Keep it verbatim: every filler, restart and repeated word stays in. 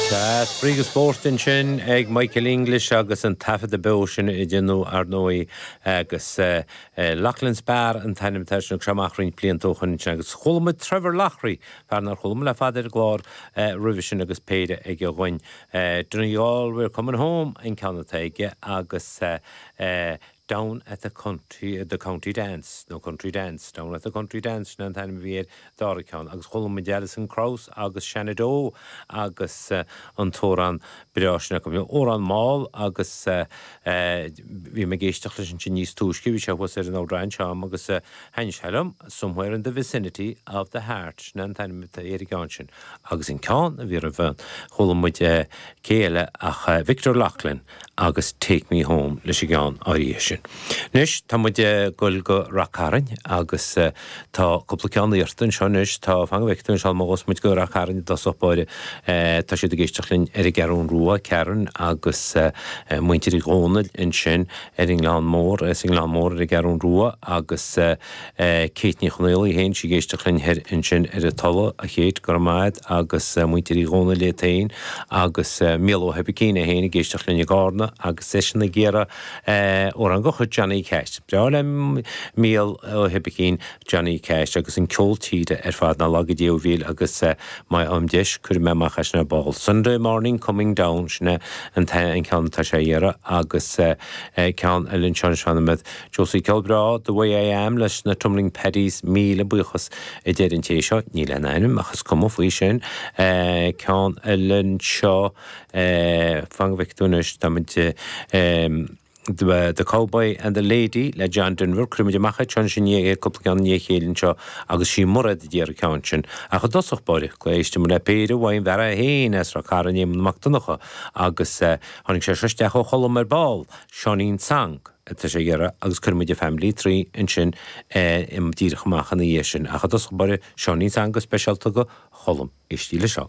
Spraoi agus spórt ansin ag Michael English agus an taifeadadh beo sin a déanadh ar ndóigh agus Loughlin's Bar an t-ainm atá sin seo amach roinnt blianta ó shin agus chuala muid Trevor Loughery fear nár chuala muid le fada ar an gclár roimhe sin agus péire aige againn. Donegal we're coming home an ceann atá aige agus down at the country the county dance no country dance down at the country dance sin an t-ainm a bhí ar dara ceann agus chuala muid Alison Krauss agus Shenandoah agus uh, an t-amhrán breá sin go amhrán mall agus uh, uh, bhí mé ag éisteacht leis sin níos túisce bhí sé thuas ar an amhrán seo agus uh, thaithin sé liom somewhere in the vicinity of the heart sin an t-ainm ar an gceann sin agus an ceann a bhí roimhe chuala muid uh, céile ach uh, Victor Loughlin agus Take Me Home leis an gceann áirithe sin. Anois tá muid ag dul go Ráth Cairn agus uh, tá cúpla ceann anseo anois tá fan Victor se má muid go Ráth Cairn dá sopáire uh, tá siad ag éisteacht linn ar an gCeathrú Rua Karen agus uh, muintir Uí Dhónaill ansin ar an nGleann Mór is an Gleann Mór ar an gCeathrú Rua agus uh, uh, Kate Ní Chonaill féin sí ag éisteacht linn ansin ar an Tulaigh a chéad go maid agus uh, muintir Uí Dhónaill le tain agus uh, Mícheál Ó hEibicín é féin ag éisteacht linn i gCarna agus é sin ag iarraidh amhrán de chuid Johnny Cash. Breá le Mícheál Ó hEibicín Johnny Cash agus an ceol tíre ar fad na laga déhíl agus uh, má am deis chuir mé amach sin ar ball. Sunday morning coming down sinne an an ceann tá sé iarraidh agus uh, uh, ceann eile sean seanad Josie Celbrá the way I am leis na Tumbling Paddies míle buíochas i deir an té seo ní le ainm achas cuma faoi sin uh, ceann eile seo uh, fan go bhfeicfidh tú tá um, The, the Cowboy and the Lady le John Denver Crimid amach sin sin cúpla ceann i ndiaidh a chéile seo agus sí mura dtíar ceann sin ach i dtosach báire éistfidh muid le péire uaidh an bhfear féin as Ráth Cairn Éamonn Mac Donncha agus uh, tháinig sé isteach ó Cholm ar ball Seáinín Song atá sé iarraidh agus cuirfimid Family Tree ansin im díreach amach ina dhiaidh sin ach i dtosach báire Seáinín Song go speisialta go Cholm éistigí le seo.